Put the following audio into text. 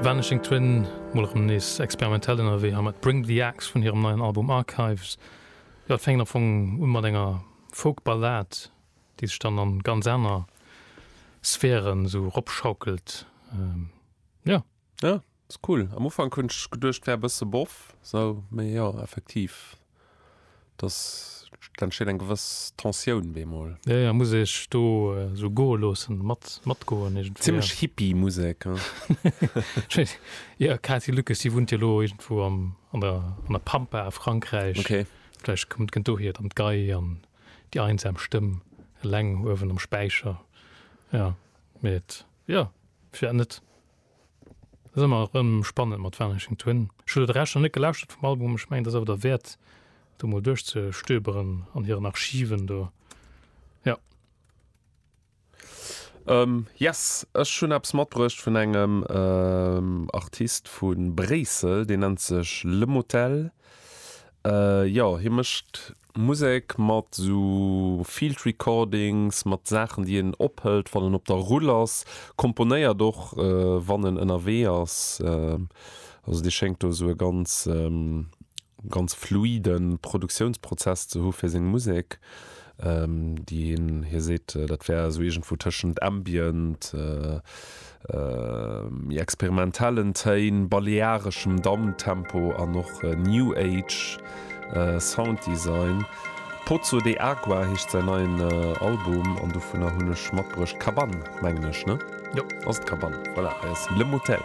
Vanishing Twin, mol erëm nees experimentell ënnerwee hei mat Bring the Axe vun hirem neien Album Archives. Jo, et fänkt am Fong u mat enger Folk-Ballad, déi sech dann an ganz aner Sphären esou eropschaukelt. Jo. Jo, ass cool. Am Ufank hunn ech geduecht wär e bësse boff sou, mee jo effektiv dass et entsteet eng gewëss Tensioun bemol. Jo jo, muss ee sech do sou goe loossen, mat matgoen iergendwéi. Zimmlech Hippie Musek he. Jo, Katy Lucas déi wunnt jo elo iergendwou am an der an der Pampa a Frankräich. Okay. Vläicht kommt kënnt dohier dann d'Gei an déi einsam Stëmm eleng uewen am Späicher. Jo, mee et jo, firwat net? Ass ëmmer erëm spannend mat Vanishing Twin. Ech hu lo de Rescht nach net gelauschtert vum Album, ech mengen et ass awer derwäert do mol duerchzestöberen an hiren Archiven do. Jo. Yes, ech hunn eppes matbruecht vun engem Artist vu Bréissel, deen nennt sech Le Motel. Jo, hie mécht Musek mat sou Field Recordings, mat Saachen déi een ophëlt wann en op der Rull ass, komponéiert och wann en ënnerwee ass. Also dee schéngt do sou e ganz ganz fluide Produktiounsprozess ze hu fir seng Musek, déi hien, hie seet dat wär esou iergendwou tëschent Ambient, Méi experimentellen Téin, baleareschem Downtempo an och New Age Sound Design. Pozo de Agua heescht säin neien Album an dovunner hunn ech matbruecht Cabane, mengen ech, ne? Jo. Ass et Cabane? Voilà, hei ass Le Motel.